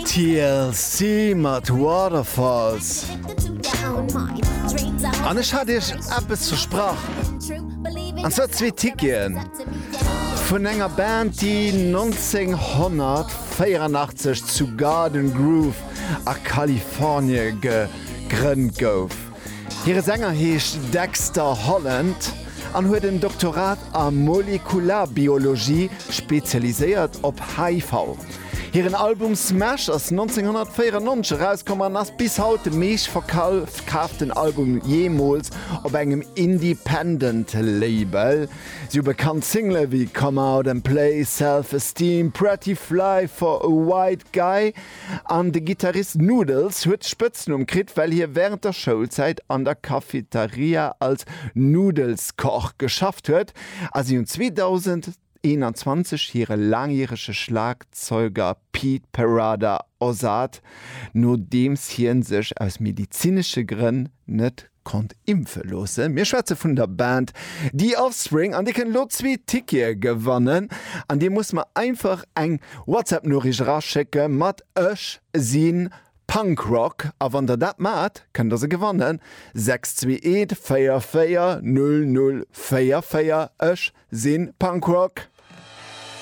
TLC mat Waterfalls. An ech hat iech eppes versprach, an zwar zwee Ticketen vun enger Band, déi 1984 zu Garden Grove a Kalifornie gegrënnt gouf. Hire Sänger heescht Dexter Holland an huet en Doktorat a Molekularbiologie, spezialiséiert op HIV. Hiren Album Smash ass 1994 erauskomm an ass bis haut de meeschtverkaaften Album jeemools op engem Independent Label. Si hu bekannt Single wéi Come Out and Play, Self Esteem, Pretty Fly for a White Guy an de Gittarist Noodles huet de Spëtznumm kritt, well hie wärend der Schoulzäit an der Cafeteria als Nudelskoch geschafft huet a si hunn 2021 hire laangjärege Schlagzeuger Pete Parada ersat, nodeems hie sech aus medizinesche Grënn net konnt impfe loossen. Mir schwätze vun der Band The Offspring an dir kënnt elo zwee Tickete gewannen an dir musst mer einfach eng WhatsApp-Noriicht eraschécke mat Ech si Punkrock a wann der dat maacht, kënnt der se gewannen. 6 2 1 4 4 0 0 4 4 Ech si Punkrock.